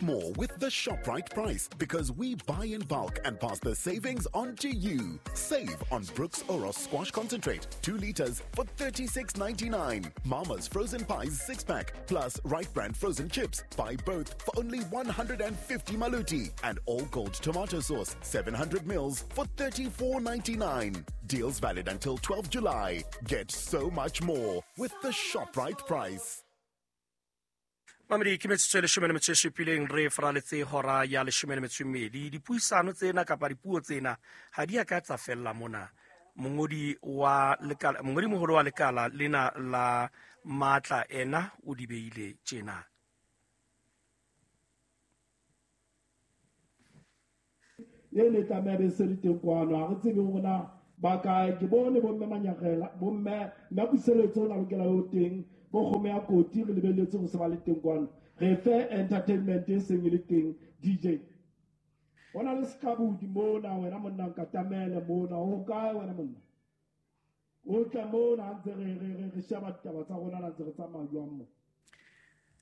More with the ShopRite price because we buy in bulk and pass the savings on to you. Save on Brooks Oros Squash Concentrate, 2 liters for $36.99. Mama's Frozen Pies 6 pack plus Right Brand Frozen Chips. Buy both for only 150 maluti. And All Gold Tomato Sauce, 700 mils for $34.99. Deals valid until 12 July. Get so much more with the ShopRite price. Mamedi, ke metsotso e leshome le metso e supileng re faraletse hora ya leshome le metso e mmedi. Dipuisano tsena kapa dipuo tsena ha di a ka tsa fella mona. Mongodi wa lekala, mongodi moholo wa lekala lena la matla ena o di beile tjena. E ne tlameha be se le teng kwano, ha re tsebe hore na ba kae. Ke bone bomme Manyagela, bomme nna Puseletso o na lokela ho teng, bo kgomo ya koti re lebelletse ho se ba le teng kwano. Re fe entertainment e seng e le teng. DJ, ho na le sekabudi mona, wena monna nkatamele mona, o kae wena monna? O tle mona ha ntse re sheba ditaba tsa rona, ha ntse re tsamaya jwang mo.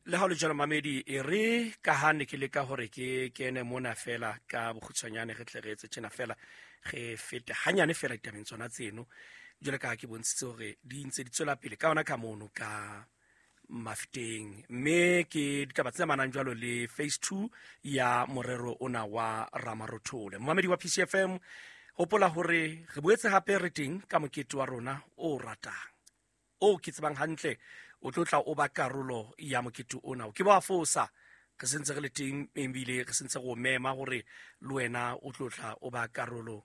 Le ha o le jwalo mamedi, e re ka ha ne ke leka hore ke kene mona fela ka bokgutshwanyane, re tle re etse tjena fela, re fete hanyane fela ditabeng tsona tseno. Jwale ka ha ke bontshitse hore di ntse di tswela pele ka hona ka mono ka Mafeteng, mme ke ditaba tse amanang jwalo le phase 2 ya morero ona wa Ramarothole. Momamedi wa PCFM, hopola hore re boetse hape re teng ka mokete wa rona o ratang, o ke tsebang hantle o tlo tla o ba karolo ya mokete ona. O ke ba fosa, re sentse re le teng ebile re sentse re o mema hore le wena o tlo tla o ba karolo,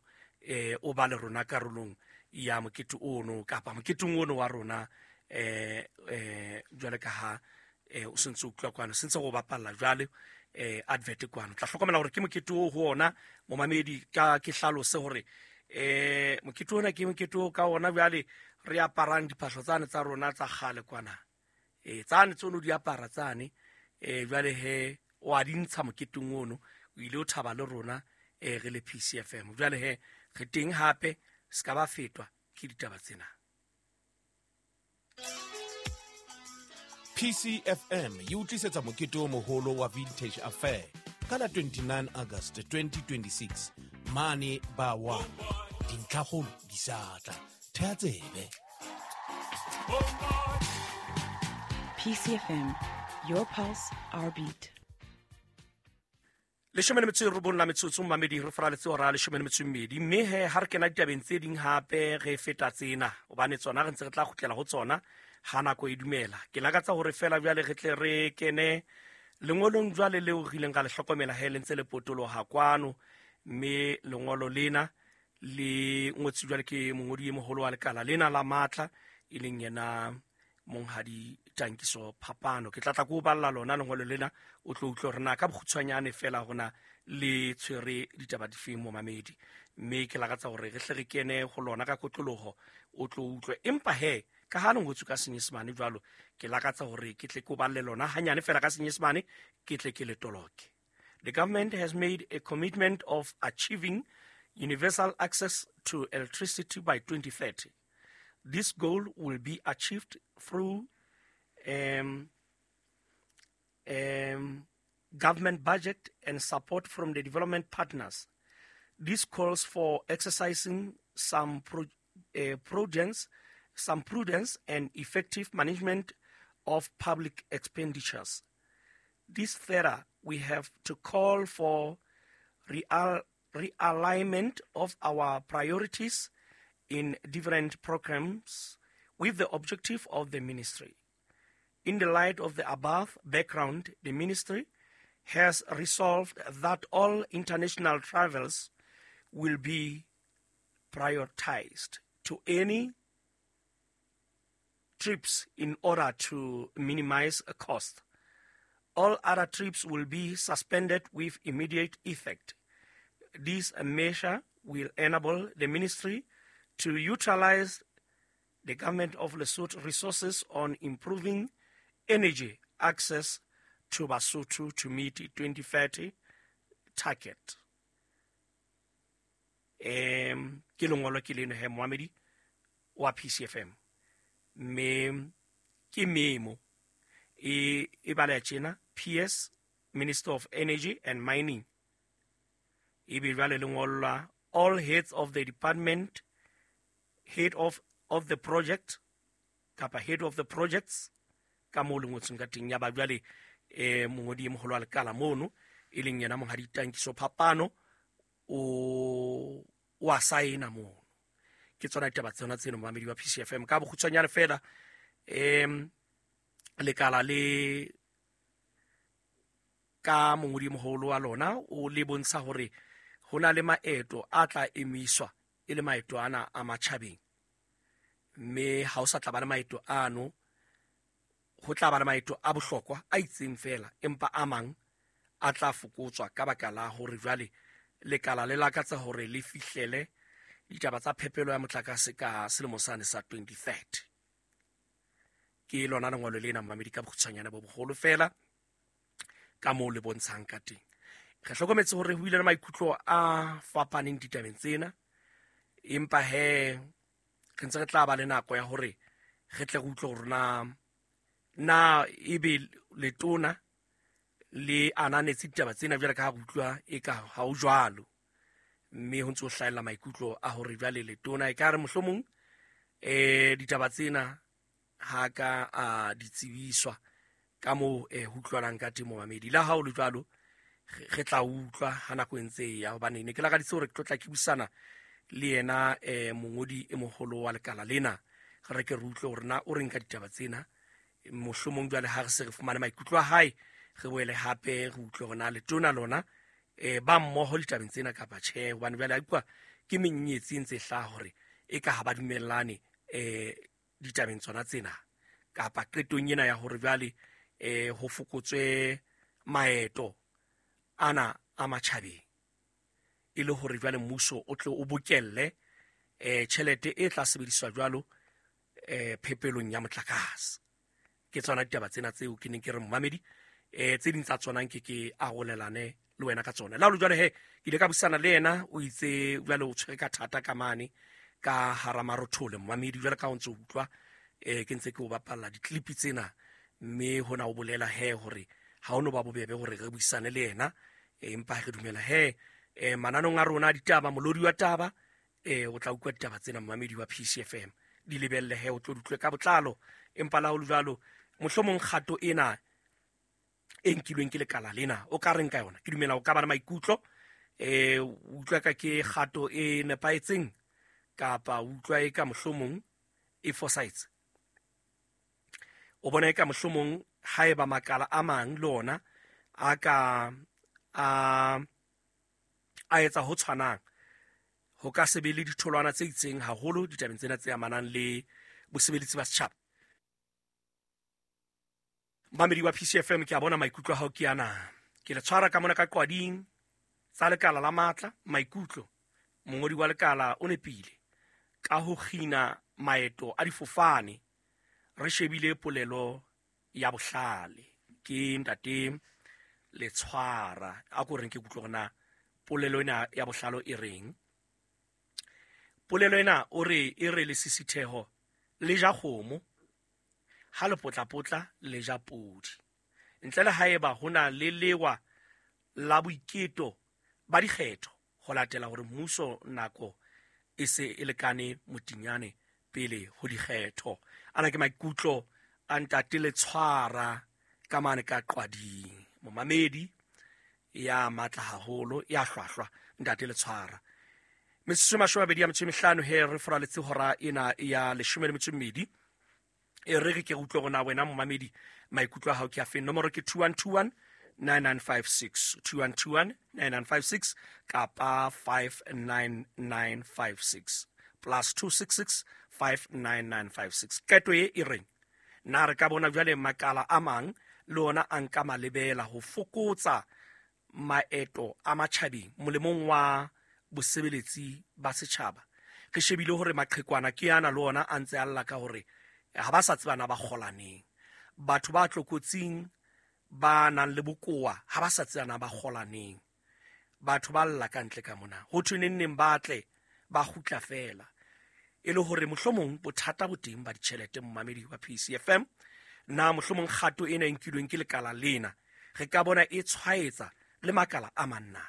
o ba le rona karolong ya mokete ono kapa moketeng ono wa rona, jwale ka ha, o sentse o utlwa kwano, sentse go bapalla jwale, advert kwano. Tla hlokomela hore ke mokete o ho ona momamedi, ka ke hlalose hore, mokete ona ke mokete o ka ona jwale re aparang diphahlo tsane tsa rona tsa kgale kwana, tsane tseno di apara tsane, jwale he o a di ntsha moketeng ono, o ile o thaba le rona, re le PCFM. Jwale he re teng hape, se ka ba fetwa ke ditaba tsena. PCFM e utlisetsa mokete o moholo wa Vintage Affair ka la 29 August 2026 mane ba wa dintlhakgolo di sa tla. Thea tsebe. PCFM, your pulse, our beat. Leshome le metso e robong la metsotso mamedi, re faraletse hora ya leshome le metso e mmedi. Mme he ha re kena ditabeng tse ding hape re feta tsena, hobane tsona re ntse re tla kgutlela ho tsona ha nako e dumela. Ke lakatsa hore fela jwale re tle re kene lengolong jwale leo re ileng ra le hlokomela he le ntse le potoloha kwano, mme lengolo lena le ngotswe jwale ke mongodi e moholo wa lekala lena la matla, e leng yena Monghadi Tankiso Phapano. Ke tla tla ko o balla lona lengolo lena, o tlo utlwe hore na ka bokgutshwanyane fela hona le tshwere ditaba difeng momamedi. Mme ke lakatsa hore re hle re kene ho lona ka kotloloho, o tlo utlwe. Empa he, ka ha le ngotswe ka Senyesemane jwalo, ke lakatsa hore ke tle ke o balle lona hanyane fela ka Senyesemane, ke tle ke le toloke. The government has made a commitment of achieving universal access to electricity by 2030. This goal will be achieved through government budget and support from the development partners. This calls for exercising some prudence and effective management of public expenditures. This further, we have to call for realignment of our priorities in different programs with the objective of the ministry. In the light of the above background, the ministry has resolved that all international travels will be prioritized to any trips in order to minimize cost. All other trips will be suspended with immediate effect. This measure will enable the ministry to utilize the government of Lesotho resources on improving energy access to Basotho to meet 2030 target. Ke lengolo ke leno he moamedi wa PCFM. Mme ke memo e bala tjena PS Minister of Energy and Mining. Ebe jwale le ngollwa all heads of the department, head of the project kapa head of the projects ka moo le ngotsweng ka teng. Ya ba jwale mongodi e moholo wa lekala mono e leng yena Monghadi Tankiso Phapano o wa saena mono. Ke tsona ditaba tsona tseno, momamedi wa PCFM. Ka bokgutshwanyane fela, lekala le ka mongodi e moholo wa lona o le bontsha hore ho na le maeto a tla emiswa e le maeto ana a matjhabeng, mme ha o sa tla ba le maeto ano, ho tla ba le maeto a bohlokwa a itseng fela, empa a mang a tla fokotswa ka baka la hore jwale lekala le lakatsa hore le fihlele ditaba tsa phepelo ya motlakase ka selemo sane sa 2030. Ke lona lengolo lena, momamedi, ka bokgutshwanyane bo boholo fela ka moo le bontshang ka teng. Re hlokometse hore ho ile le maikutlo a fapaneng ditabeng tsena, empa he re ntse re tla ba le nako ya hore re tle re utlwe hore na ebe letona le ananetse ditaba tsena jwale ka ha re utlwa eka ha ho jwalo, mme ho ntse ho hlahella maikutlo a hore jwale letona e ka re mohlomong ditaba tsena ha ka a di tsebiswa ka moo ho utlwalang ka teng, momamedi. Le ha ho le jwalo, re tla utlwa ha nako e ntse e ya, hobane ne ke lakaditse hore ke tlo tla ke buisana le yena mongodi e moholo wa lekala lena, re ke re utlwe hore na o reng ka ditaba tsena. Mohlomong jwale ha re se re fumane maikutlo a hae, re boele hape re utlwe hore na letona lona ba mmoho ditabeng tsena kapa tjhe, hobane jwale a utlwa ke menyetsi e ntse e hlaha hore e ka ha ba dumellane ditabeng tsona tsena kapa qetong ena ya hore jwale ho fokotswe maeto ana a matjhabeng, e le hore jwale mmuso o tle o bokelle tjhelete e tla sebediswa jwalo phepelong ya motlakase. Ke tsona ditaba tsena tseo ke neng ke re, momamedi, tse ding tsa tsona nke ke arolelane le wena ka tsona. Le ha ho le jwalo he, ke ile ka buisana le yena, o itse jwale o tshwere ka thata ka mane ka hara marothole, momamedi, jwale ka o ntso utlwa ke ntse ke o bapalla di-clip tsena, mme hona o bolela he hore ha o no ba bobebe hore re buisane le yena, empa re dumela he mananong a rona a ditaba, molodi wa taba, o tla utlwa ditaba tsena, momamedi wa PCFM, di lebelle he o tlo di utlwe ka botlalo. Empa la ho le jwalo, mohlomong kgato ena e nkilweng ke lekala lena o ka reng ka yona? Ke dumela o ka ba le maikutlo, utlwa ka ke kgato e nepahetseng kapa utlwa e ka mohlomong e fosahetse. O bona e ka mohlomong haeba makala a mang le ona a ka a etsa ho tshwanang, ho ka se be le ditholwana tse itseng haholo ditabeng tsena tse amanang le bosebeletsi ba setjhaba. Mamedi wa PCFM, ke a bona maikutlo a hao ke ana. Ke le tshwara ka mona ka qwading tsa lekala la matla maikutlo. Mongodi wa lekala o nepile ka ho kgina maeto a difofane, re shebile polelo ya bohlale. Ke ntate le tshwara a ko reng ke kutlwe hore na polelo ena ya bohlalo e reng. Polelo ena o re e re lesisitheho le ja kgomo, ha le potlapotla le ja podi, ntle le haeba ho na le lewa la boiketo ba dikgetho ho latela hore mmuso nako e se e lekane motinyane pele ho dikgetho. Ana ke maikutlo a ntate le tshwara ka mane ka qwading, momamedi ya matla haholo ya hlwahlwa ntate le tshwara. Metsotso 25 he re foraletse hora ena ya 12. E re ke utlwe hore na wena momamedi maikutlo a hao ke a feng. Nomoro ke 2121 9956, 2121 9956 kapa 59956 plus 266 59956. Qeto e e reng na re ka bona jwale makala a mang le ona a nka malebela ho fokotsa maeto a matjhabeng molemong wa bosebeletsi ba setjhaba? Re shebile hore maqhekwana ke ana le ona a ntse a lla ka hore ha ba sa tseba na ba kgolaneng, batho ba tlokotsing ba nang le bokowa ha ba sa tseba na ba kgolaneng, batho ba lla ka ntle ka mona ho thwe neng neng ba tle ba kgutla fela, e le hore mohlomong bothata bo teng ba ditjhelete. Momamedi wa PCFM, na mohlomong kgato ena e nkilweng ke lekala lena Re ka bona e tshwaetsa le makala a mang na?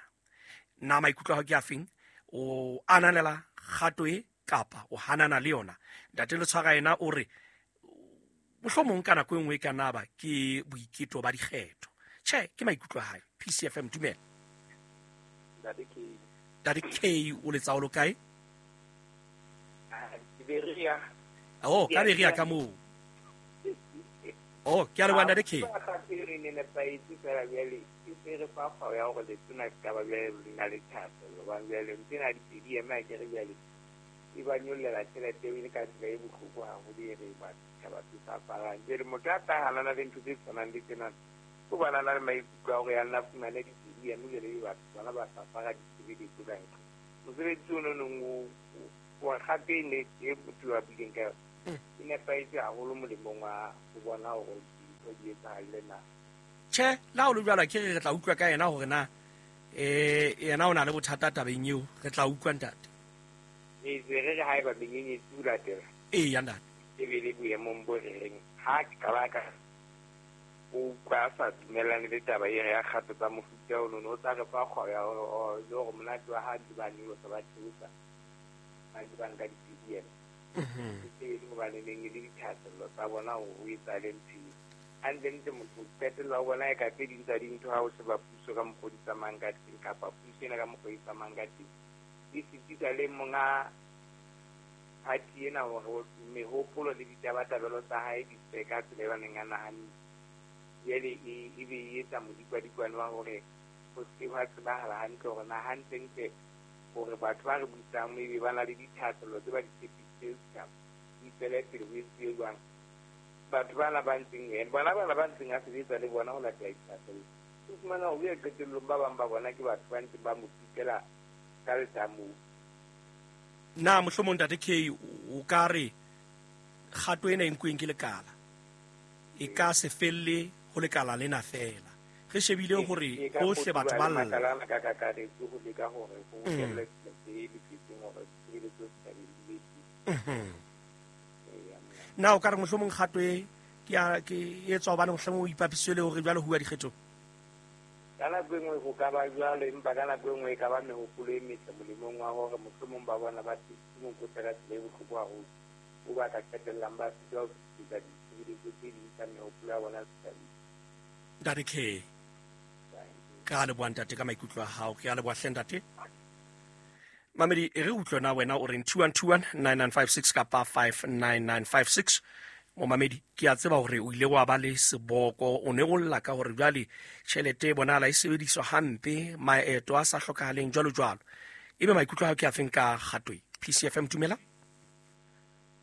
Na maikutlo a hao ke a feng? O ananela kgato e kapa o hanana le yona? Ntate Letshwara yena o re mohlomong ka nako e nngwe e ka nna ba ke boiketo ba dikgetho. Tjhe, ke maikutlo a hae. PCFM, dumela. Ntate K. Ntate K, o letsa o lo kae? Beria. Oh, ka Beria ka moo. Oh, ke a leboha Ntate K. Re ne nepahetse fela jwale e se re fa kgwao ya hore letona se ka ba jwale le na le thahasello hobane jwale ntho ena di ema ke re jwale e ba nyollela tjhelete eo e le ka tsela e bohloko haholo e re ba setjhaba se sa aparang. Jwale motho a tla hanana le ntho tse tshwanang le tsena o bana na le maikutlo a hore ya nna fumane di eme jwale e batho bona ba sa apara ditshebeletso ka ntle. Mosebetsi ono nong o kgato e ne e motho a buileng ka yona e nepahetse haholo molemong wa ho bona hore dintho di etsahalle na. Tjhe, le ha o le jwalo ke re re tla utlwa ka yena hore na yena o na le bothata tabeng eo, re tla utlwa ntate. Re se re re haeba menyenyetsi o latela. Eya ntate. E be le boemong bo re reng ha qala ka o utlwa a sa dumellane le taba e re ya kgato tsa mofuta ono, no o tla re fa kgwao ya hore le hore monate wa ha ntse ba nyolosa ba theosa ba ntse ba nka di-P D M. E le hobane neng e le dithahasello tsa bona hore ho etsahale ntho eo. Hantlentle motho o qetella o bona eka tse ding tsa dintho ha o sheba puso ka mokgwa o di tsamayang ka teng kapa puso ena ka mokgwa o e tsamayang ka teng e sitisa le monga party ena hore mehopolo le ditabatabelo tsa hae di tswe ka tsela e ba neng a nahanne. Jwale e be e etsa modikwadikwane wa hore ho se hwa tsebahala hantle hore na hantlentle hore batho ba re busang ebe ba na le dithahasello tse ba di tshepisitseng setjhaba di tswele pele ho etsuwe jwang. Batho bana ba ntseng bona bana ba ntseng a sebetsa le bona ho latela dithahasello. O fumana hore qetellong ba bang ba bona ke batho ba ntseng ba mo pitela ka letamong. Na mohlomong Ntate K o ka re kgato ena e nkuweng ke lekala e ka se felle ho lekala lena fela? Re shebile hore hohle batho ba lla. Makala ana ka kakaretso ho leka hore ho bokellwe tjhelete e loketseng hore ditshebeletso setjhabeng di be teng. Na o ka re mohlomong kgato e ke e tswa hobane mohlomong o ipapisitswe le hore jwale ho uwa dikgethong? Ka nako e nngwe ho ka ba jwalo, empa ka nako e nngwe e ka ba mehopolo e metle molemong wa hore mohlomong ba bona ba thusitse mokotla ka tsela e bohloko haholo o ba ka qetellang ba sitwa ho fetisetsa ditshebeletso tse ding tsa mehopolo ya bona setjhabeng. Ntate K, ka leboha ntate ka maikutlo a hao, ke a leboha hle ntate. Mamedi, e re utlwe na wena o reng 2121 9956 kapa 59956. Momamedi, ke a tseba hore o ile wa ba le seboko, o ne o lla ka hore jwale tjhelete e bonahala e sebediswa hampe, maeto a sa hlokahaleng jwalo jwalo. Ebe maikutlo a hao ke a feng ka kgato e? PCFM, dumela.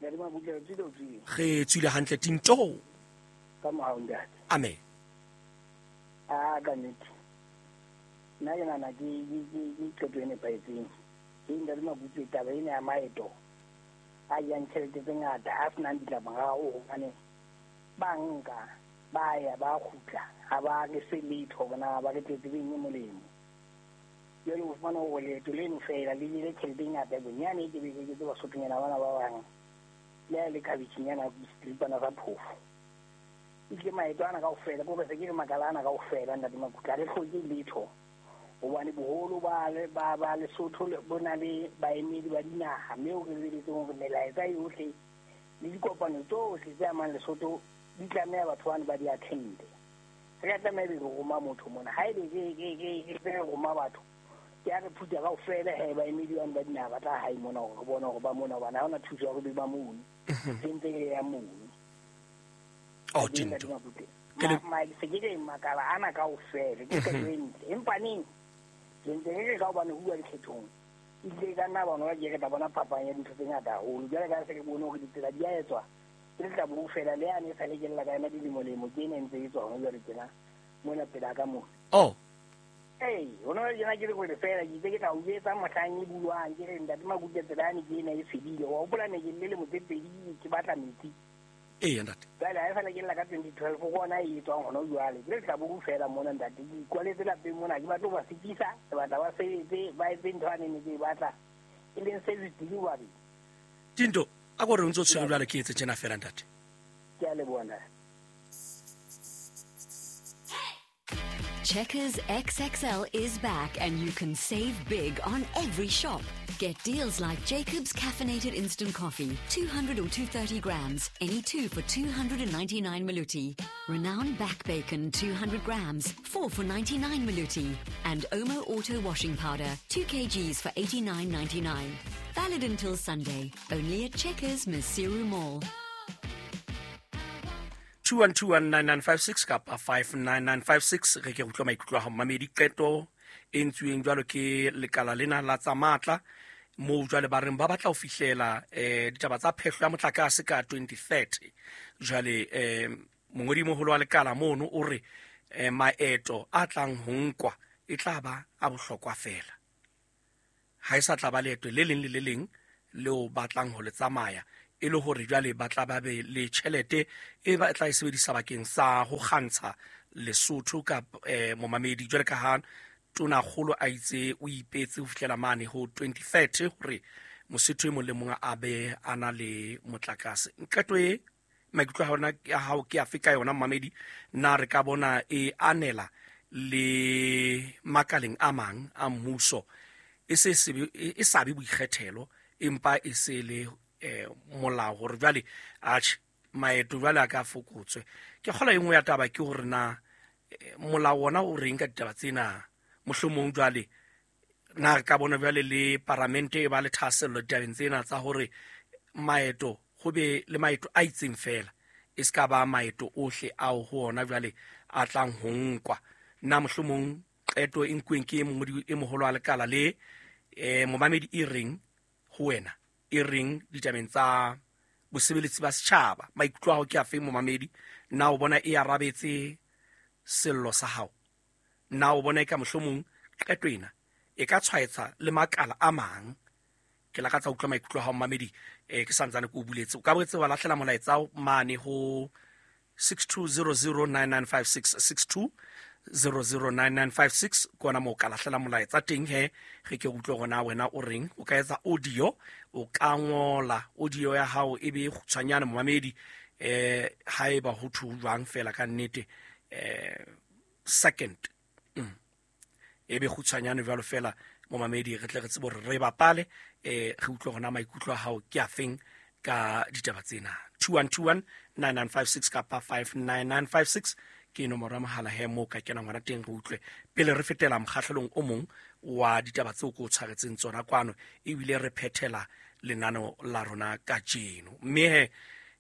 Re tswile hantle tinto. Ka mohau ntate. Amen. A ka nnete. Nna ke nahana ke qeto e nepahetseng. Ke ntate Mabutswe, taba ena ya maeto a jang tjhelete tse ngata a senang ditlamorao hobane ba nka ba ya ba kgutla ha ba re fe letho hore na ba re tletse beng e molemo. Jwale o fumana hore leeto leno fela le jele tjhelete e ngata bonyane e ke be ke tseba Sothonyana bana ba bang le ha e le khabetjhenyana seripana sa phofo. Ebile maeto ana kaofela ke hore se ke re makala ana kaofela ntate Makutle ha re hloke letho hobane boholo ba ba Lesotho bo na le baemedi ba dinaha mme o re lebeletseng hore melaetsa yohle le dikopano tsohle tse amang Lesotho di tlameha batho bano ba di attende. Re ka tlameha ebe re roma motho mona. Haebe ke re roma batho ke a re phutha kaofela he baemedi bano ba dinaha ba tla hae mona hore re bone hore ba mona hobane ha hona thuso ya hore be ba mono. Se ntse re ya mono. Oh, tinto. Se ke re makala ana kaofela ke qeto e ntle. Empa neng ke ntse re re ka hobane ho bua dikgethong ebile ka nna bona ba ke re tla bona phapang ya dintho tse ngata haholo. Jwale ka se re bone hore ditsela di a etswa ke letlabo fela le yane e sa le ke lla ka yona dilemo-lemo ke ena e ntse e tswa hona jwale tjena mona pela ka mona. Oh. Ee, hona jwale tjena ke le hore fela ke itse ke tla o jwetsa mohlang e bulwang ke re ntate Makutle tsela yane ke ena e fedile. Wa hopola ne ke le lemo tse pedi ke batla metsi. Ee, ntate. Jwale ha e sale ke lla ka 2012 ke ona e etswang hona jwale. Ke letlabo fela mona ntate. Ke ikwaletse lapeng mona, ke batla ho ba sitisa, ke batla ba sebetse, ba etse ntho ane ne ke e batla. E leng service delivery. Tinto, a ko re o ntso tshwere jwale ke etse tjena fela ntate. Ke a leboha ntate. Checkers XXL is back and you can save big on every shop. Get deals like Jacob's Caffeinated Instant Coffee, 200 or 230 grams, any two for 299 Maluti. Renown Back Bacon, 200 grams, 4 for 99 Maluti. And Omo Auto Washing Powder, 2 kgs for 89.99. Valid until Sunday, only at Checkers Maseru Mall. 21219956 kapa 59956 re ke utlwa maikutlo a hao mamedi. Qeto e ntsweng jwalo ke lekala lena la tsa matla moo jwale ba reng ba batla ho fihlela ditaba tsa phehlo ya motlakase ka 2030. Jwale mongodi moholo wa lekala mono o re maeto a tlang ho nkwa e tla ba a bohlokwa fela, ha e sa tla ba leeto le leng le le leng leo batlang ho le tsamaya, e le hore jwale ba tla ba be le tjhelete e ba tla e sebedisa bakeng sa ho kgantsha Lesotho ka momamedi. Jwale ka ha tonakgolo a itse o ipetse ho fihlela mane ho 2030 hore Mosotho e mong le mong a be a na le motlakase. Qeto e maikutlo a hao ke afe ka yona momamedi? Na re ka bona e anela le makaleng a mang a mmuso e se e sa be boikgethelo empa e se le molao hore jwale atjhe maeto jwale a ka fokotswe? Ke kgola e nngwe ya taba ke hore na molao ona o reng ka ditaba tsena. Mohlomong jwale na re ka bona jwale le paramente e ba le thahasello ditabeng tsena tsa hore maeto ho be le maeto a itseng fela, e se ka ba maeto ohle ao ho ona jwale a tlang ho nkwa. Na mohlomong qeto e nkuweng ke mongodi e moholo wa lekala le momamedi e reng ho wena, e reng ditabeng tsa bosebeletsi ba setjhaba? Maikutlo a hao ke afe momamedi? Na o bona e arabetse sello sa hao? Na o bona e ka mohlomong qeto ena e ka tshwaetsa le makala a mang? Ke lakatsa utlwa maikutlo a hao momamedi. Ke santsane ke o buletse. O ka boetse wa lahlela molaetsa mane ho 62009956, 62009956 ke ona moo ka lahlela molaetsa teng he re ke utlwe hore na wena o reng. O ka etsa audio, o ka ngola audio ya hao e be kgutshwanyane momamedi, haeba ho thu jwang fela ka nnete second e be kgutshwanyane jwalo fela momamedi, re tle re tsebe hore re bapale, re utlwe hore na maikutlo a hao ke afeng ka ditaba tsena. 21219956 kapa 59956 ke nomoro ya mohala he moo ka kenang hona teng re utlwe pele re fetela mokgahlelong o mong wa ditaba tseo ko o tshwaretseng tsona kwano, ebile re phethela lenano la rona kajeno. Mme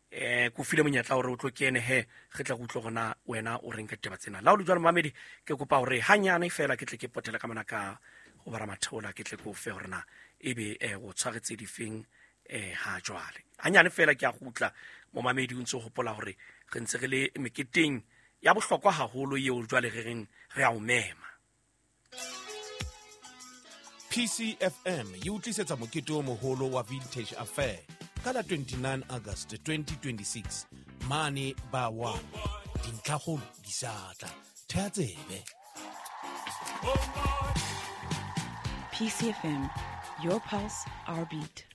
he ko file monyetla hore o tlo kene he re tla go utlwe hore wena o reng ka ditaba tsena. La o le jwalo momamedi, ke kopa hore hanyane fela ke tle ke potele ka mona ka ho bara matheola, ke tle ke o fe hore na ebe o tshwaretse difeng ha jwale. Hanyane fela ke a gutla momamedi, o ntse hopola hore re ntse re le meketeng ya bohlokwa haholo eo jwale re reng re a o mema. PCFM e o tlisetsa mokete o moholo wa Vintage Affair ka la 29 August 2026 mane ba 1. Dintlhakgolo di sa tla. Thea tsebe. PCFM, your pulse, our beat.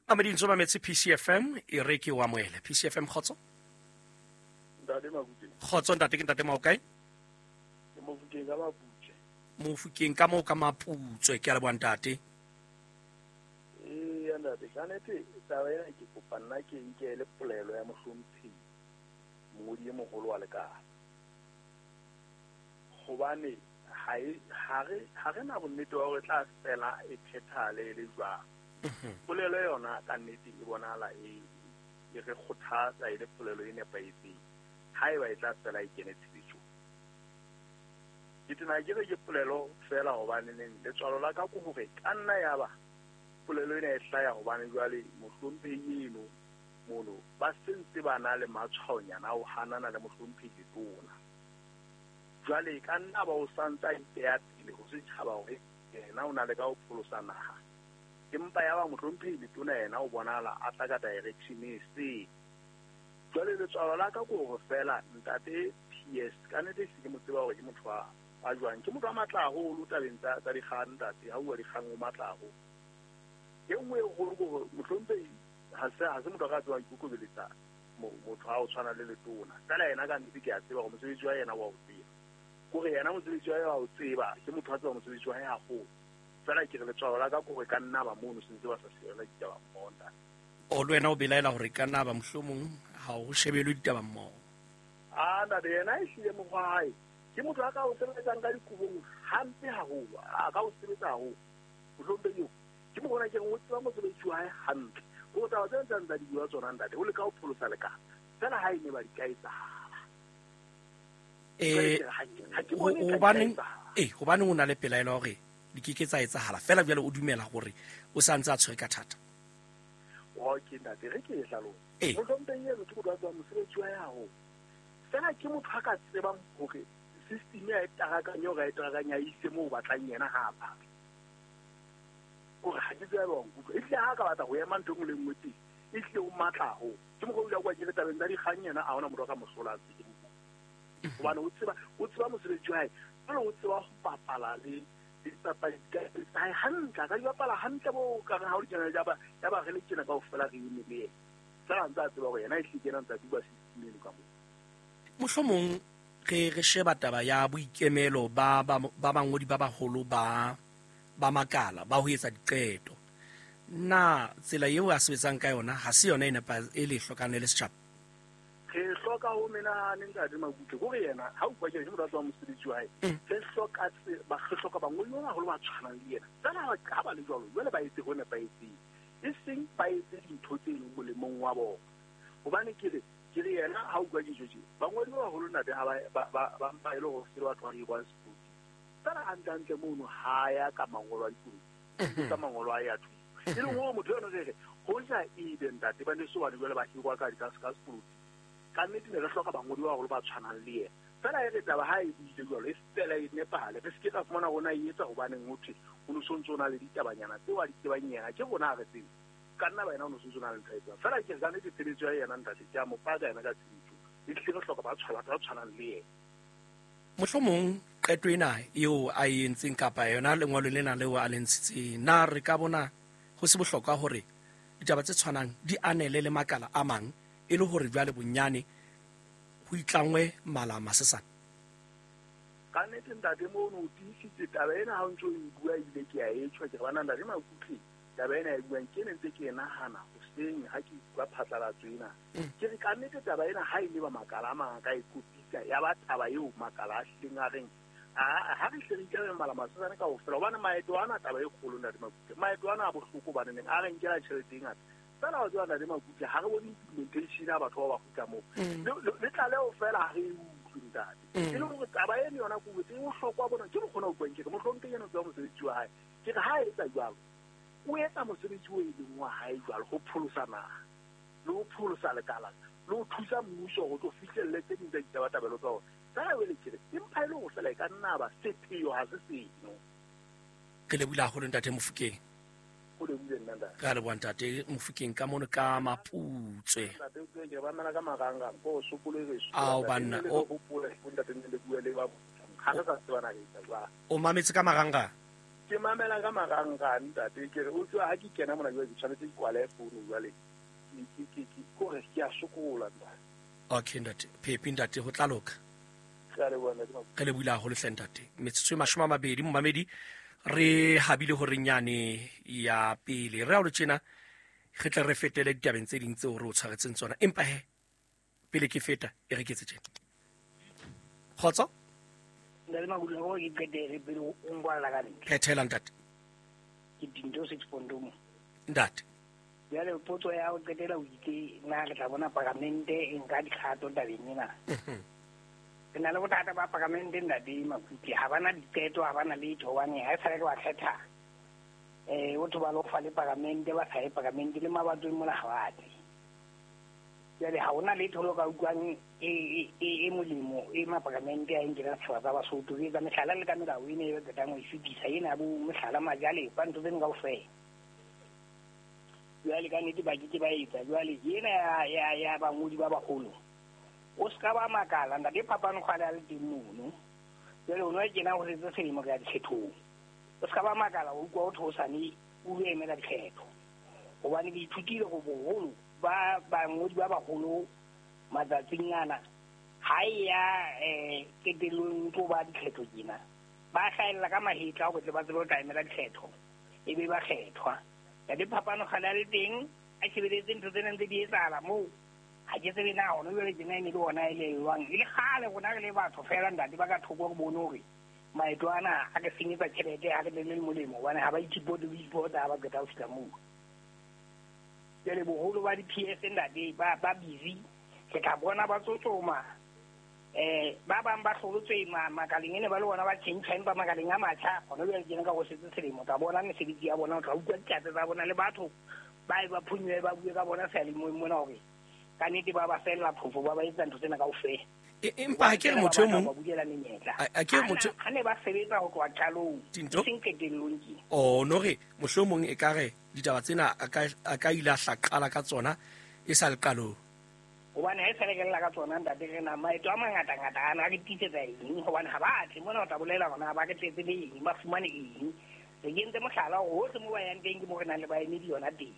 Mamedi ntse mametse PCFM, e re ke o amohele. PCFM kgotso. Ntate Makuteng. Kgotso ntate, ke ntate Maokae? Ke Mofokeng ka Maputswe. Mofokeng ka moo ka Maputswe, ke a leboha ntate. Ee ntate, ka nnete taba ena ke kopa nna ke nkele polelo ya mohlomphehi mongodi e moholo wa lekala. Hobane ha re na bonnete ba hore tla fela e phethahale e le jwang. Polelo yona ka nnete e bonahala e re kgothatsa e le polelo e nepahetseng haeba e tla fela e kene tshebetsong. Ke tena ke re ke polelo fela hobane neng letswalo la ka ke hore ka nna ya ba polelo ena e hlaya hobane jwale mohlomphehi eno mono ba sentse ba na le matshwaonyana a ho hanana le mohlomphehi Letona. Jwale ka nna ba o santse a ipeya pele ho setjhaba hore yena o na le ka ho pholosa naha, empa ya ba mohlomphehi Letona yena o bonahala a tla ka direction e seng. Jwale letswalo la ka ke hore fela ntate PS ka nnete se ke mo tseba hore ke motho wa jwang, ke motho wa matla haholo tabeng tsa dikgang ntate, ha bua dikgang o matla haholo. E nngwe e kgolo ke hore mohlomphehi ha se motho a ka tsebang ikokobeletsa motho ha o tshwana le letona. Fela yena ka nnete ke a tseba gore mosebetsi wa yena wa o tseba. Kore yena mosebetsi wa hae wa o tseba, ke motho a tseba mosebetsi wa hae haholo. Fela ke re letshwao la ka kore ka nna ba mono sentse ba sa shebela ditaba mmoho ntate. O le wena o belaela hore ka nna ba mohlomong ha o shebelwe ditaba mmoho. A ntate yena e hlile mokgwa wa hae. Ke motho a ka o sebetsang ka dikobong hampe haholo, a ka o sebetsa haholo. Mohlomong eo ke mo bona ke re o tseba mosebetsi wa hae hantle. Ko taba tse ntseng tsa di bua tsona ntate, o leka ho pholosa lekala. Fela ha e ne ba di ka etsahala. Hobaneng hobaneng o na le pelaelo hore di ke ke tsa etsahala fela jwale o dumela hore o sa ntse a tshwere ka thata? Okay ntate, re ke e hlalose. Mohlomong eno ke motho a tsebang mosebetsi wa hae haholo. Fela ke motho a ka tsebang hore system ya e tarakanya hore a e tarakanya a ise moo o batlang yena ha a batla. Kore ha ke tsebe wa nkutlwa. Ehlile ha ka batla ho ema ntho e nngwe le nngwe teng, ehlile o matla haholo. Ke mokgwa o ile a kwa ke re tabeng tsa dikgang yena a hona motho a ka mo hlola ntse ke mo bua. Hobane o tseba mosebetsi wa hae, jwale o tseba ho bapala le dipapadi tsa hae hantle. A ka di bapala hantle bo ka re ha o di kena ya ba re le tjena kaofela re eme le yena. Fela ntse a tseba hore yena ehlile ke yena ntse a duba system eno ka moo. Mohlomong re sheba taba ya boikemelo ba bangodi ba baholo ba makala ba ho etsa diqeto. Na tsela eo a sebetsang ka yona ha se yona e e le hlokang le setjhaba? Re hloka ho menahane ntate Makutle, kore yena ha o bua ke motho a tsebang mosebetsi wa hae. Re hloka bangodi ba baholo ba tshwanang le yena. Fela ha ba le jwalo, jwale ba etse ho nepahetseng, e seng ba etse dintho tse leng molemong wa bona. Hobane ke re yena ha o bua ke tje, bangodi ba baholo ntate ha ba mpa e le hore se batho ba hirwang sepolotiki. Fela hantle mono ha ya ka mangolo a dipolotiki, ka mangolo a ya thuto. E leng hore motho eno re re hoja ebe ntate ba ne so bane jwale ba hirwa ka sepolotiki. Ka nnete ne re hloka bangodi ba baholo ba tshwanang le yena. Fela e re taba ha e buile jwalo e fela e nepahale. Re se ke ra fumana rona e etsa hobaneng ho thwe o no sontso o na le ditabanyana tseo a di tsebang yena, ke rona ha re tsebe. Ka nna ba yena o no sontso o na le ntho a e tsebang. Fela ke re ka nnete tshebetso ya yena ntate ke a mo paka yena ka tshebetso. Ehlile re hloka batho ba tshwanang le yena. Mohlomong qeto ena eo a e entseng kapa yona lengolo lena leo a le ntshitseng, na re ka bona ho se bohlokwa hore ditaba tse tshwanang di anele le makala a mang e le hore jwale bonyane ho itlangwe mala masesane? Ka nnete ntate mono o tiisitse taba ena ha o ntso e bua ebile ke a e tjho, ke re bana ntate Makutle taba ena e buang ke ne ntse ke e nahana hoseng ha ke bua phatlalatso ena. Ke re ka nnete taba ena ha e le ba makala a mang a ka e kopitsa ya ba taba eo makala a hlileng a reng ha re hle re itlame mala masesane kaofela, hobane maeto ana taba e kgolo ntate Makutle, maeto ana a bohloko hobane neng a re nkela tjhelete e ngata. Fela wa tseba ntate Makutle ha re bone implementation ya batho ba ba kgutla moo. Le tlaleho fela ha re e utlwe ntate. E le hore taba eno yona ke botse e bohlokwa bona ke mokgona ho buang ke re mohlomphehi ena o tseba mosebetsi wa hae. Ke re ha a etsa jwalo, o etsa mosebetsi o e leng wa hae jwalo ho pholosa naha le ho pholosa lekala le ho thusa mmuso hore o tlo fihlelle tse ding tsa ditabatabelo tsa ona. Fela jwale ke re empa e le hore fela e ka nna ba sepheo ha se seno. Re lebohile haholo ntate Mofokeng. O lebohile nna ntate. Re a leboha ntate Mofokeng ka mono ka Maputswe. Ntate o ke ba mela ka marangrang ko sokolo re so. Ao banna o hopole ntate ne le bua le ba ha re sa tsebana re etsa jwang. O mametse ka marangrang? Ke mamela ka marangrang ntate, ke re o tswa ha ke kena mona jwale ke tshwanetse ke kwale founu jwale. Ke kore ke a sokola ntate. Okay ntate, Phepi ntate ho tla loka. Re lebohile haholo hle ntate. Metsotso e 20 momamedi re habile hore nyane ya pele re a lo tjena re tle re fetele ditabeng tse ding tseo re o tshwaretseng tsona, empa he pele ke feta e re ke etse tjena. Kgotso Ntate Makutle, ho ke qetele pele o nkwalla ka ntle. Phethela ntate. Ke dinto 6.1 mo. Ntate. Jwale potso ya ho qetela o itse na re tla bona paramente e nka dikgato tabeng ena. Re na le bothata ba paramente ntate Makutle, ha bana diqeto, ha bana letho, hobane ha e sale re ba kgetha o thoba lo fa le paramente, ba sa ye paramente le mabatong mona ha ba tle. Jwale ha hona letho lo ka utlwang e molemo e maparamente a nkela setjhaba tsa Basotho. Ke etsa mehlala le ka melao ena e ba qetang ho e fetisa ena bo mohlala majalefa ntho tseno kaofela. Jwale ka nnete ba ke ke ba etsa. Jwale ena ya bangodi ba baholo o ska ba makala ntate phapano kgale a le teng mono. Jwale o no kena ho setse selemo ka dikgethong, o ska ba makala o utlwa o thosane o lo emela dikgetho, hobane ke ithutile go boholo ba bangodi ba baholo Matsatsing ana ha e ya qetellong tlo ba dikgetho tjena, ba hlahella ka mahetla hore tle ba tsebe ho tla emela dikgetho, e be ba kgethwa. Ntate Phapano kgale a le teng, a shebeletse ntho tsena ntse di etsahala moo. Ha ke tsebe na hona jwale tjena e ne le ona e le jwang. E le kgale rona re le batho feela ntate ba ka thoko re bone hore maeto ana a re senyetsa tjhelete, ha re le molemo, hobane ha ba ithipote ho ipota ha ba qeta ho fihla moo. Jwale boholo ba di-P S ntate ba busy, re tla bona ba tsotsoma. Ba bang ba hlolotswe makaleng ene ba le bona ba tjhentjha, empa makaleng a matjha hona jwale tjena ka ho setse selemo, o tla bona mesebetsi ya bona, o tla utlwa ditlatse tsa bona le batho ba e ba phonyuwe ba bue ka bona seyalemoyeng mona hore ka nnete ba ba fella phofo, ba ba etsa ntho tsena kaofela. Empa ha ke re motho e mong Ba bulela menyetla. A ke re motho Ha ne ba sebetsa ho tloha qalong, Tinto? e seng qetellong tje. Oh, no re mohlomong e ka re ditaba tsena a ka ile a hla qala ka tsona e sa le qalong. Hobane ha e sa le re lla ka tsona ntate, re na maeto a mangata-ngata ana a re tiisetsa eng? Hobane ha ba tle mona o tla bolela hore na ba re tletse le eng, ba fumane eng. Re kentse mohlala hore hohle moo ba yang teng ke moo re nang le baemedi yona teng.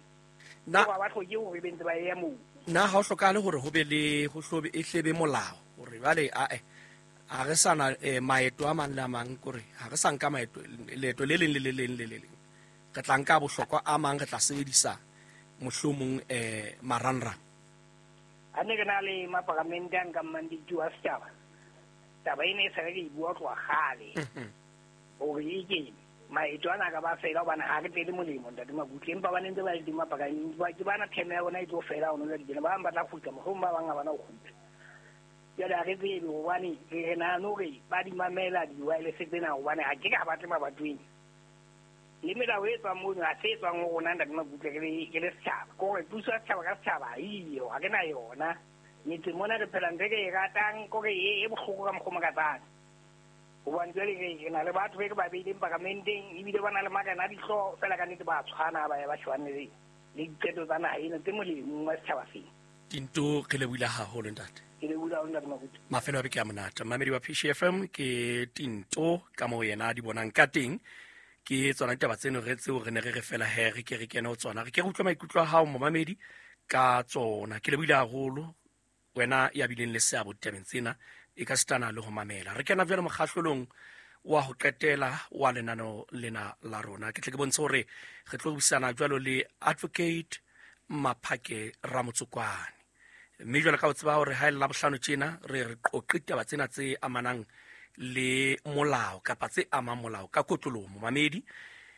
Hoba ba hloke hore be ntse ba ya moo. Na ha o hlokahale hore ho be le ho hlobe e hlebe molao hore jwale a re sa na maeto a mang le a mang, kore ha re sa nka maeto leeto le leng le le leng le le leng, re tla nka bohlokwa a mang, re tla sebedisa mohlomong marangrang. Ha ne re na le maparamente a nkang mandate wa setjhaba, taba ena e sa re re e bua ho tloha kgale. Hore e ke maeto ana a ka ba fela hobane ha re tlele molemo ntate Makutle, empa ba ne ntse ba le teng maparamente, ba ke bana term ya bona e tlo fela hona jwale tjena, ba bang ba tla kgutla, mohlomong ba bang ha bana ho kgutla. Jwale ha re tsebe hobane re nahane hore ba di mamela di-wireless tsena, hobane ha ke ka ba tle mabatoweng. Le melao e tswang mono ha se e tswang ho rona ntate Makutle, re le setjhaba. Ke hore puso ya setjhaba ka setjhaba ha eyo, ha re na yona. Metseng mona re phela ntho e re e ratang, ke hore e bohloko ka mokgwa o makatsang. Hobane jwale re na le batho be re ba beileng paramenteng, ebile ba na le marena a dihlooho, feela ka nnete ba tshwana, ba ya ba shebane le diqeto tsa naha ena tse molemong wa setjhaba sena. Tinto, re lebohile haholo ntate. Ke lebohile haholo ntate Makutu. Mafelo a beke a monate. Mmamedi wa PCFM ke Tinto ka moo yena a di bonang ka teng. Ke tsona ditaba tseno re tseo re ne re re fela he re ke re kene ho tsona. Re ke re utlwe maikutlo a hao momamedi ka tsona. Ke lebohile haholo wena ya bileng le seabo ditabeng tsena, e ka sitana le ho mamela. Re kena jwale mokgahlelong wa ho qetela wa lenaneo lena la rona. Ke tle ke bontshe hore re tlo buisana jwalo le Advocate Maphake Ramotsokwane. Mme jwale ka o tseba hore ha e le Labohlano tjena re qoqe ditaba tsena tse amanang le molao kapa tse amang molao ka kotloloho momamedi.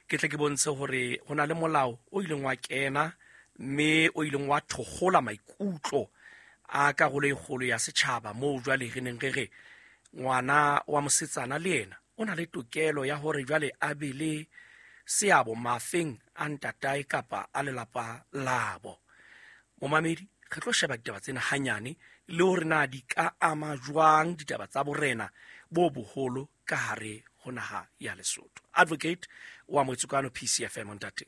Ke tle ke bontshe hore ho na le molao o ileng wa kena mme o ileng wa thokgola maikutlo a karolo e kgolo ya setjhaba, moo jwale re neng re re ngwana wa mosetsana le yena o na le tokelo ya hore jwale a be le seabo mafeng a ntatae kapa a lelapa labo. Momamedi, re tlo sheba ditaba tsena hanyane le hore na di ka ama jwang ditaba tsa borena bo boholo ka hare ho naha ya Lesotho. Advocate wa Motsokano PCFM ntate.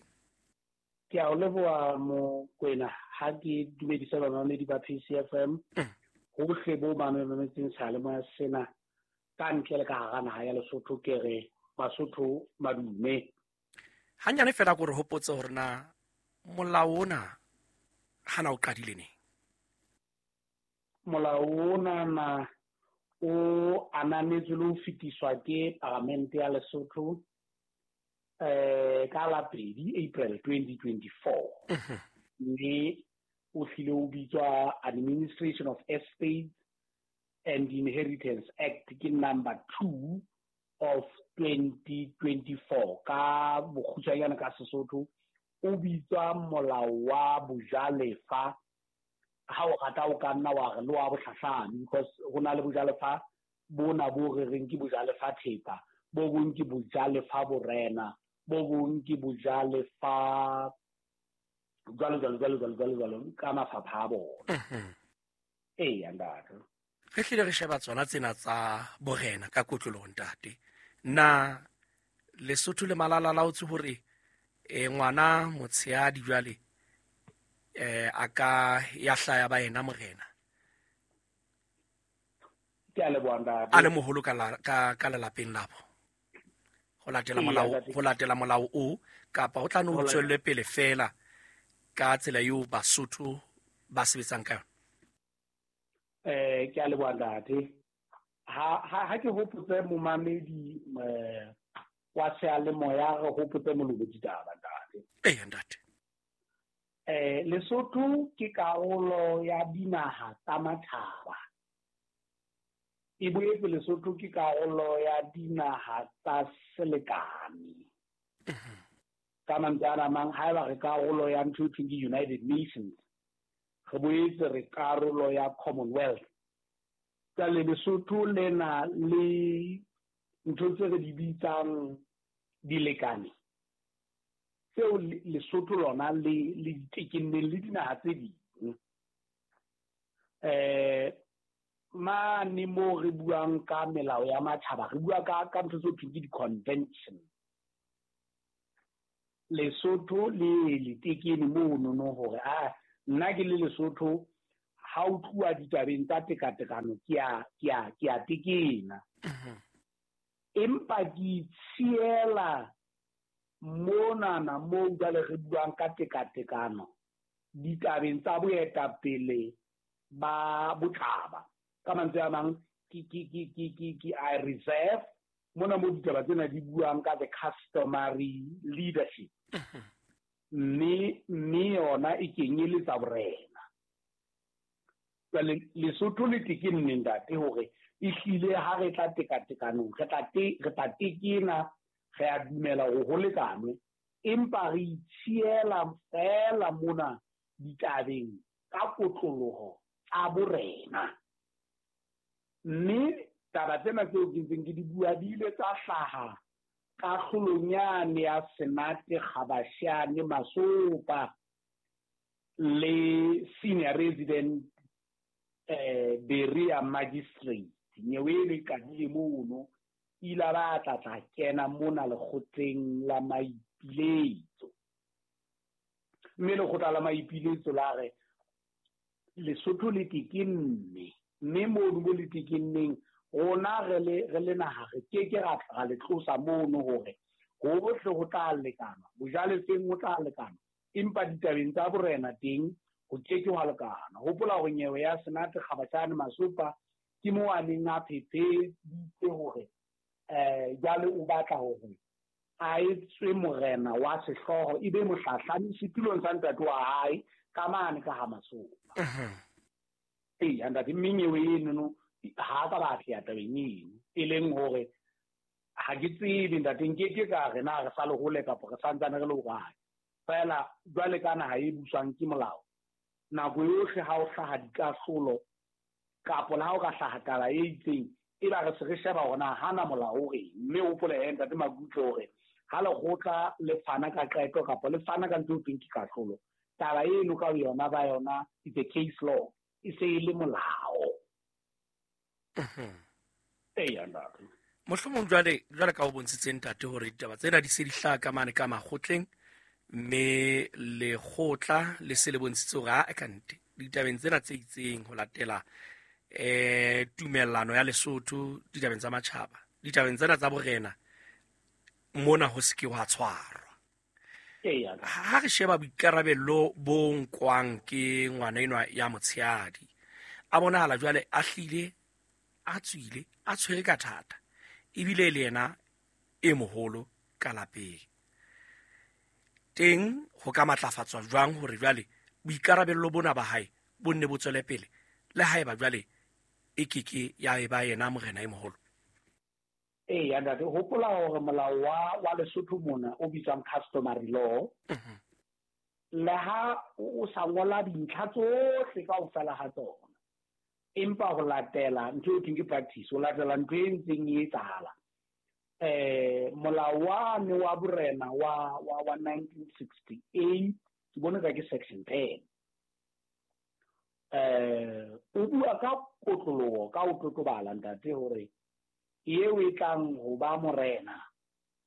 Ke a o leboha Mokwena, ha ke dumedisa bamamedi ba PCFM. Hohle bo ba mametseng seyalemoya sena ka ntle le ka hara naha ya Lesotho, ke re Basotho madume. Hanyane fela ke re hopotse hore na molao ona hana o qadile neng? Molao ona na o ananetswe le ho fetiswa ke Palamente ya Lesotho ka la 2 April 2024. Mme o hlile o bitswa Administration of Estates and Inheritance Act, ke number 2 of 2024. Ka bokgutshwanyane ka Sesotho o bitswa molao wa bojalefa. Ha o rata o ka nna wa re le wa bohlahlami, because ho na le bojalefa bona bo re reng ke bojalefa thepa, bo bong ke bojalefa borena, bo bong ke bojalefa jwalo jwalo jwalo jwalo jwalo jwalo ka mafapha a bona. Eya ntate. Re hlile re sheba tsona tsena tsa borena ka kotloloho ntate. Na Lesotho le Malala laotse hore ngwana motshehadi jwale a ka ya hlaya ba yena morena? Ke a leboha ntate. A le moholo ka lelapeng labo. Ho latela Eya, molao, ntate. ho latela molao o, kapa ho tla no Ho latela. tswelle pele fela ka tsela eo Basotho ba sebetsang ka yona? Ke a leboha ntate. Ha ke hopotse momamedi wa seyalemoya, re hopotse molobo ditaba ntate. Eya ntate. Lesotho ke karolo ya dinaha tsa matjhaba. E boetse Lesotho ke karolo ya dinaha tsa selekane. Ka mantswe a mang, haeba re karolo ya ntho e thweng ke United Nations, re boetse re karolo ya Commonwealth. Jwale Lesotho le na le ntho tse re di bitsang dilekane tseo Lesotho lona le ditekenneng le dinaha tse ding. Mane moo re buang ka melao ya matjhaba, re bua ka ntho tse thweng ke di-convention. Lesotho le letekene mono hore a nna ke le Lesotho, ha o tluwa ditabeng tsa tekatekano ke a tekena. Empa ke itshiela monana moo jwale re buang ka tekatekano ditabeng tsa boetapele ba botjhaba. Ka mantswe a mang, ke I reserve mona mo ditaba tsena di buang ka the customary leadership. Mme yona e kenyeletsa borena. Jwale Lesotho le tekenne ntate hore ehlile ha re tla tekatekanong, re tla tekena, re a dumela hore ho lekanwe, empa re itshiela feela mona ditabeng ka kotloloho tsa borena. Mme taba tsena tseo ke ntseng ke di bua di ile tsa hlaha kahlolong yane ya Senate Kgabashane Masopa le senior resident Berea magistrate. Nyewe eno e qadile mono, ile ba tla kena mona lekgotleng la maipiletso. Mme lekgotla la maipiletso la re Lesotho le tekenne, mme mono mo le tekenneng rona re le naha re ke ke ra le tlosa mono hore hohle ho tla lekana, bojalefeng ho tla lekana, empa ditabeng tsa borena teng ho ke ke hwa lekana. Hopola hore nyewe ya Senate Kgabashane Masopa ke moo a neng a phetheditse hore jwale o batla hore a etswe morena wa sehlooho, ebe mohlahlami setulong sa ntate wa hae ka mane ka ha Masopa. Eya ntate, mme nyewe eno ha ka ba atleha tabeng eno, e leng hore ha ke tsebe ntate, nke ke ka re na re sa le hole kapa re santsane re le hokae. Feela jwale ka naha e buswang ke molao, nako yohle ha o hlaha dikahlolo kapo le ha o ka hlaha taba e itseng, e ba re se re sheba hore na hana molao o reng. Mme o hopole he ntate Makutle hore ha lekgotla le fana ka qeto kapa le fana ka ntho e thweng ke kahlolo, taba eno ka yona ba yona it's a case law, e se e le molao. Eya ntate. Mohlomong jwale ka o bontshitse ntate hore ditaba tsena di se di hlaha ka mane ka makgotleng, mme lekgotla le se le bontshitse hore a kante ditabeng tsena tse itseng ho latela tumellano ya Lesotho ditabeng tsa matjhaba, ditabeng tsena tsa borena mona ho se ke wa tshwarwa. Ha re sheba boikarabello bo nkwang ke ngwana enwa ya motshehadi, a bonahala jwale a hlile a tswile a tshwere ka thata, ebile le yena e moholo ka lapeng. Teng ho ka matlafatswa jwang hore jwale boikarabello bona ba hae bo nne bo tswele pele, le haeba jwale e keke ya eba yena morena e moholo? Eya ntate, hopola hore molao wa Lesotho mona o bitswang customary law, le ha o sa ngola dintlha tsohle kaofela ha tsona, empa ho latela ntho e thweng ke practice, ho latela ntho e ntseng e etsahala. Molao wane wa borena wa 1968, ke bone ka ke section 10, o bua ka kotloloho, ka ho totobala ntate hore eo e tlang ho ba morena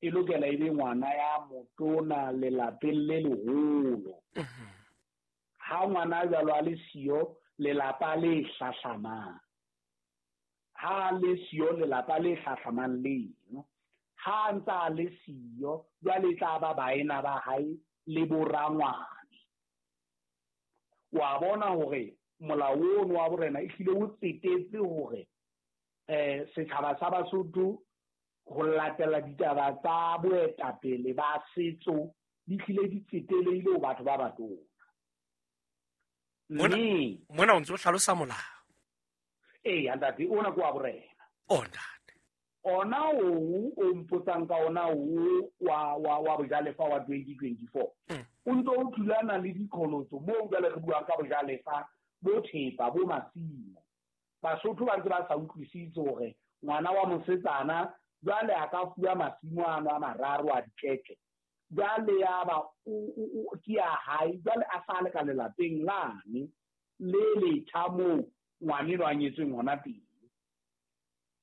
e lokela e be ngwana ya motona lelapeng le leholo. Ha ngwana jwalo a le siyo, lelapa le hlahlamang. Ha le siyo, lelapa le hlahlamang leno. Ha ntsa le siyo, jwale tla ba baena ba hae le borangwane. Wa bona hore Molao ono wa borena ehlile o tsetetse hore setjhaba sa Basotho ho latela ditaba tsa boetapele ba setso di hlile di tseteleile ho batho ba batona. Mme mona o ntse o hlalosa molao. Eya ntate, ona ke wa borena. O ntate. Ona o mpotsang ka ona o wa bojalefa wa 2024. O ntse o thulana le diqholotso moo jwale re buang ka bojalefa bo thepa bo masimo. Basotho ba ntse ba sa utlwisise hore ngwana wa mosetsana jwale a ka fuwa masimo ano a mararo a dikeke. Jwale ya ba ke ya hae, jwale a sa le ka lelapeng lane le letjha moo ngwaneno a nyetsweng hona teng.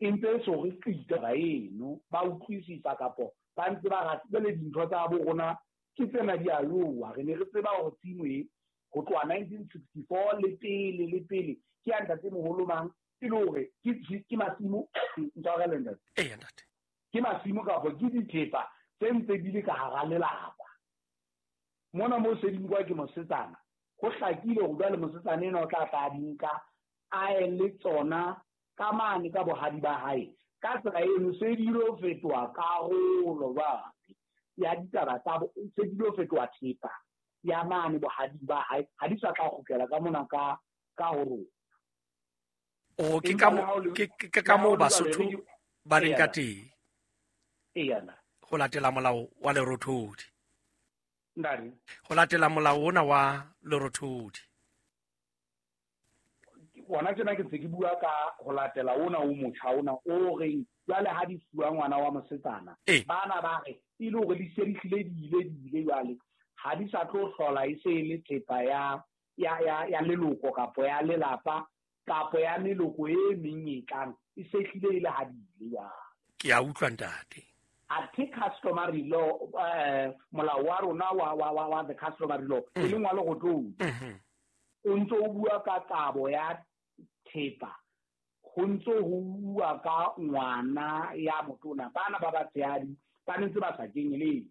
E ntse e so re qite taba eno, ba utlwisisa kapo ba ntse ba rata jwale dintho tsa bo rona ke tsena di a lowa. Re ne re tseba hore tshimo e ho tloha 1964 le pele le pele ke ya ntatemoholo mang, e le hore ke masimo ntshwarele ntate. Eya ntate. Ke masimo kapa ke dithepa tse ntse di le ka hara lelapa. Mona moo se di nkwa ke mosetsana, ho hlakile hore jwale mosetsana enwa o tla tla a di nka a ye le tsona ka mane ka bohadi ba hae. Ka tsela eno se di lo fetoha karolo jwale ya ditaba tsa bo, se di lo fetoha thepa ya mane bohadi ba hae, ha di sa tla kgutlela ka mona ka ho rona. O ke ka mo ke ka mo Basotho ba leng ka teng. Eya. Ho latela molao wa Lerothodi. Ntate. Ho latela molao ona wa Lerothodi. Ona tjena ke ntse ke bua ka ho latela ona o motjha ona o reng jwale ha di fuwa ngwana wa mosetsana. Bana ba re e le hore di se di hlile di ile di ile jwale ha di sa tlo hlola e se e le thepa ya leloko kapo ya lelapa kapo ya meloko e meng e tlang, e se hlile e le ha di ile jwale. Ke a utlwa ntate. Athe customary law, molao wa rona wa the customary law e leng wa Lerothodi, o ntso o bua ka kabo ya thepa, ho ntso ho bua ka ngwana ya motona, bana ba batshehadi ba ntse ba sa kenyeletse.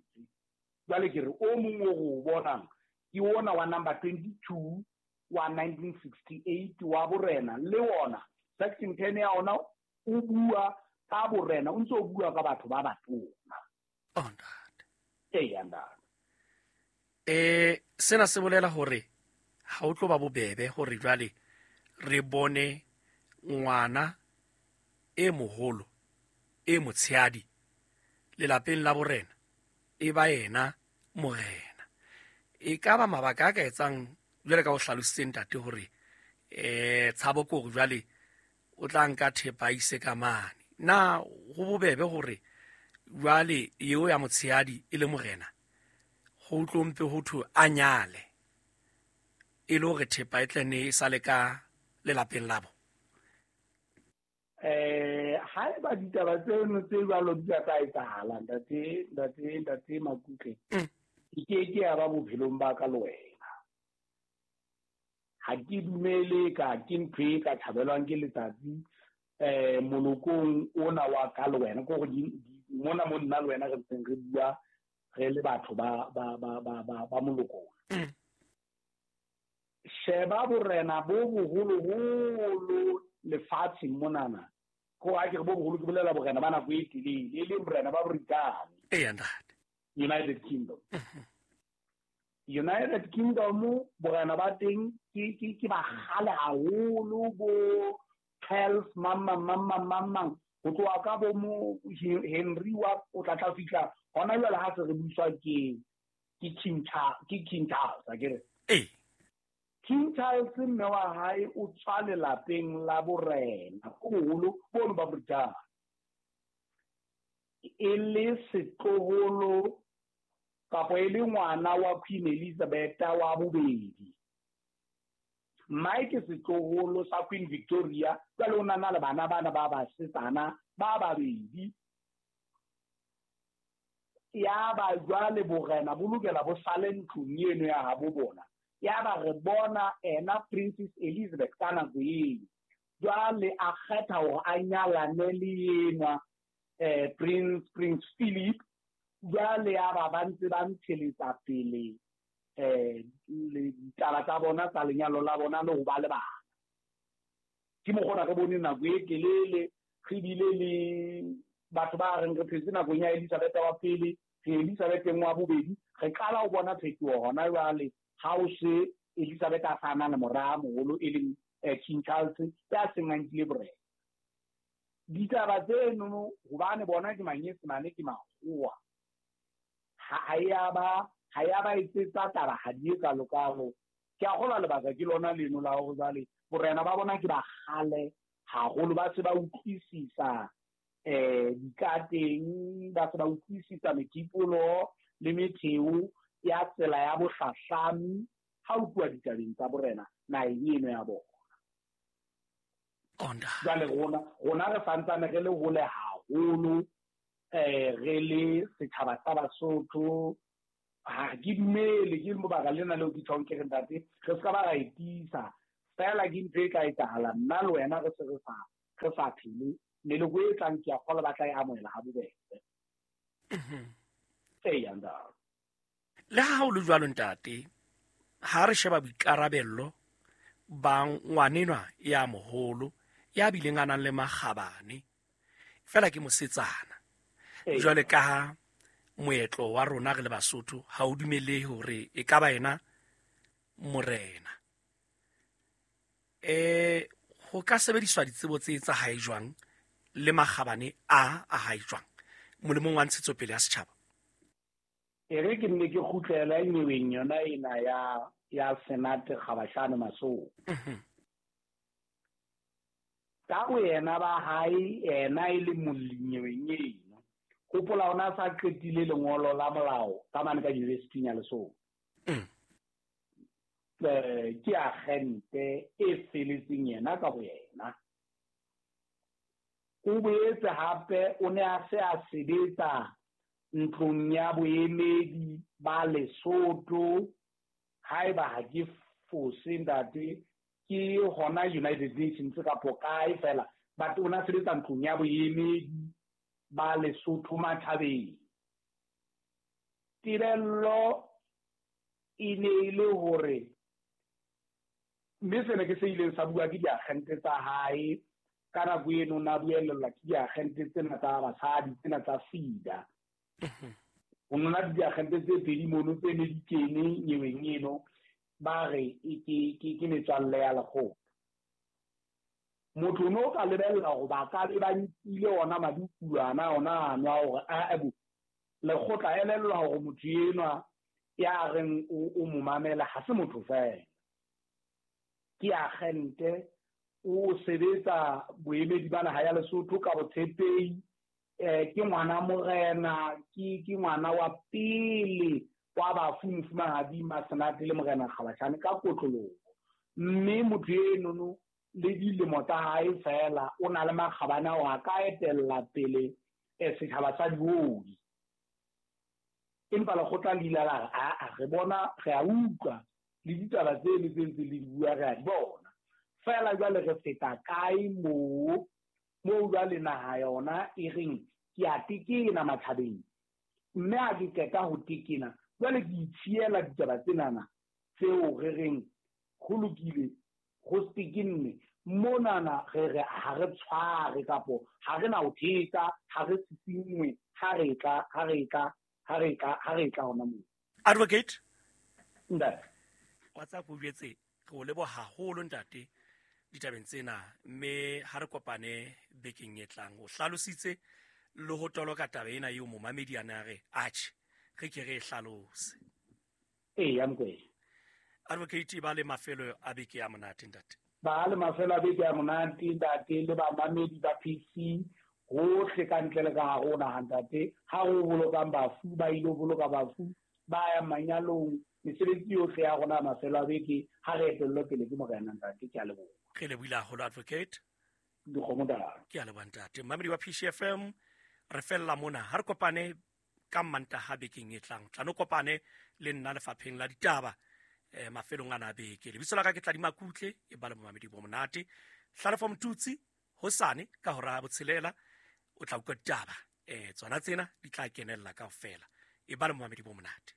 Jwale ke re o mong o re o bonang ke ona wa number 22 wa 1968 wa borena, le ona section 10 ya ona o bua ka borena, o ntse o bua ka batho ba batona. Oh ntate. Eya ntate. Sena se bolela hore ha o tlo ba bobebe hore jwale re bone ngwana e moholo e motshehadi lelapeng la borena e ba yena morena. E ka ba mabaka a ka etsang jwale ka o hlalositse ntate hore tshabo ke hore jwale o tla nka thepa a ise ka mane. Na ho bobebe hore jwale eo ya motshehadi e le morena ho tlo mpe ho thwe a nyale e le hore thepa e tle ne e sale ka lelapeng labo? Haeba ditaba tseno tse jwalo di ka etsahala ntate Makutle, ke ke ya ba bophelong ba ka le wena. Ha ke dumele ka ke ntho e ka thabelwang ke letsatsi molokong ona wa ka le wena, ke hore mona mo nna le wena re ntseng re bua re le batho ba moloko ona. Sheba borena bo boholoholo lefatsheng monana, ko a ke re bo boholo ke bolela borena ba nako e telele, e leng borena ba Brithani. Eya ntate. United Kingdom. United Kingdom borena ba teng ke ba kgale haholo, bo Charles mang ho tloha ka bo mo Henry wa o tla tla fihla hona jwale ha se re buswa ke King Charles, a ke re. King Charles mme wa hae o tswa lelapeng la borena bo boholo bono ba Brithani, e le setloholo kapo e le ngwana wa Queen Elizabeth wa bobedi. Mmae ke setloholo sa Queen Victoria, jwale o na le bana bana ba basetsana ba babedi. Ya ba jwale borena bo lokela bo sale ntlong eno ya habo bona. Ya ba re bona ena Princess Elizabeth ka nako eo. Jwale a kgetha hore a nyalane le enwa Prince Philip. Jwale ya ba ba ntse ba ntsheletsa pele Ditaba tsa bona tsa lenyalo la bona le ho ba le bana. Ke mokgona re bone nako e telele re bile le batho ba reng re phetse nakong ya Elizabeth wa pele, re Elizabeth wa bobedi, re qala ho bona phetoho hona jwale ha o se Elizabeth a sa na le mora moholo e leng King Charles ya seng a nkile borena. Ditaba tseno hobane bona ke Manyesemane ke makgowa, ha ya ba etsetsa taba ha di e kalokalo. Ke a kgolwa lebaka ke lona leno la hore jwale borena ba bona ke ba kgale haholo, ba se ba utlwisisa dikateng, ba se ba utlwisisa methipolo le metheo ya tsela ya bohlahlami ha o tluwa ditabeng tsa borena naheng eno ya bona. Jwale rona re santsane re le hole haholo, re le setjhaba sa Basotho. Ha ke dumele, ke lebaka lena leo ke tjhong ke re ntate re se ka ba ra e tiisa fela, ke ntho e ka etsahala nna le wena re se re sa phele, meloko e tlang ke a kgolwa ba tla e amohela ha bobebe. Eya ntate. Le ha ho le jwalo ntate, ha re sheba boikarabello ba ngwanenwa ya moholo ya bileng a nang le makgabane, fela ke mosetsana. Jwale ka ha moetlo wa rona re le Basotho ha o dumele hore e ka ba yena morena, ho ka sebediswa ditsebo tse tsa hae jwang le makgabane a hae jwang molemong wa ntshetsopele ya setjhaba? E re ke nne ke kgutlela nyeweng yona ena ya Senate Kgabashane Masoo. Ka boyena ba hae yena e le molli nyeweng eno. Hopola ona sa qetile lengolo la molao ka mane ka university ya Lesotho. Ke agente e feletseng yena ka boyena. O boetse hape o ne a se a sebetsa ntlong ya boemedi ba Lesotho, haeba ha ke fose ntate, ke hona United Nations kapo kae fela, but o na sebetsa ntlong ya boemedi ba Lesotho matjhabeng. Tebello e ne e le hore, mme sena ke se ileng sa bua ke diagente tsa hae ka nako eno, na buelellwa ke diagente tsena tsa basadi tsena tsa FIDA. Ho nona diagente tse pedi mono tse ne di kene nyeweng eno, ba re ke metswalle ya lekgotla. Motho o no ka lebella hore ba ka be ba nkile ona madukulwana ona ano a hore a bo lekgotla elellwa hore motho enwa ya reng o mo mamela ha se motho fela, ke agente, o sebetsa boemedi ba naha ya Lesotho ka botshepehi, ke ngwana morena, ke ngwana wa pele wa bafu mofumahadi Masenate le morena Kgabashane ka kotloloho. Mme motho enono le dilemo tsa hae fela o na le makgabane ao a ka etella pele setjhaba sa diodi. Empa lekgotla le ile la re a re bona, re a utlwa le ditaba tseno tse ntse le di bua re a di bona, fela jwale re feta kae moo jwale naha yona e reng ke a tekena matjhabeng, mme ha ke qeta ho tekena jwale ke itshiela ditaba tsenana tseo re reng ho lokile ho tekenne monana, re re ha re tshware kapo ha re na ho thetsa, ha re sisingwe ha re tla hona moo. Advocate ntate, wa tsa go jwetse re o leboha haholo ntate ditabeng tsena, mme ha re kopane bekeng e tlang. O hlalositse le ho toloka taba ena eo momamedi a ne a re atjhe re ke re e hlalose. Eya Mokwena. Advocate, ba le mafelo a beke ya monate ntate. Ba le mafelo a beke ya monate ntate, le bamamedi ba PC hohle ka ntle le ka hare ho naha ntate. Ha re bolokang bafu, ba ile ho boloka bafu, ba ya manyalong, mesebetsi yohle ya rona mafelo a beke ha re etellwe pele ke morena ntate. Ke a leboha. Re lebohile haholo advocate. Dikgomo tala. Ke a leboha ntate. Mmamedi wa PCFM, re fella mona. Ha re kopane ka Mantaha bekeng e tlang. Tla no kopane le nna lefapheng la ditaba mafelong ana a beke. Lebitso la ka ke Tladima Kutle, e ba le momamedi bo monate. Hlalefo Motutsi hosane ka hora ya 6 o tla utlwa ditaba. Tsona tsena di tla kenella kaofela. E ba le momamedi bo monate.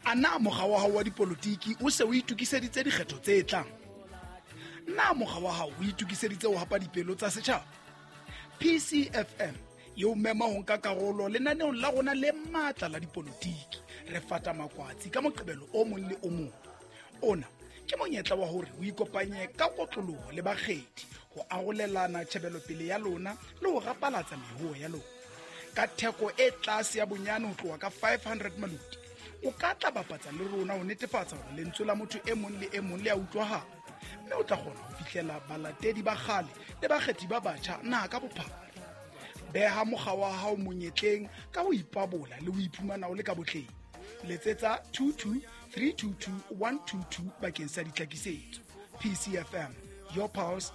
A na mokga wa hao wa dipolotiki o se o itokiseditse dikgetho tse tlang? Na mokga wa hao o itokiseditse ho hapa dipelo tsa setjhaba? PCFM e o mema ho nka karolo lenaneong la rona le matla la dipolotiki. Re fata makwatsi ka Moqebelo o mong le o mong. Ona ke monyetla wa hore o ikopanye ka kotloloho le bakgethi ho arolelana tjhebelopele ya lona le ho rapalatsa mehoho ya lona. Ka theko e tlase ya bonyane ho tloha ka 500 maloti, o ka tla bapatsa le rona ho netefatsa hore lentswe la motho e mong le e mong le a utlwahala, mme o tla kgona ho fihlela balatedi ba kgale le bakgethi ba batjha naha ka bophara. Beha mokga wa hao monyetleng ka ho ipabola le ho iphumana o le ka botleng. Letsetsa 22 322 122 bakeng sa ditlhakisetso. PCFM, your pulse.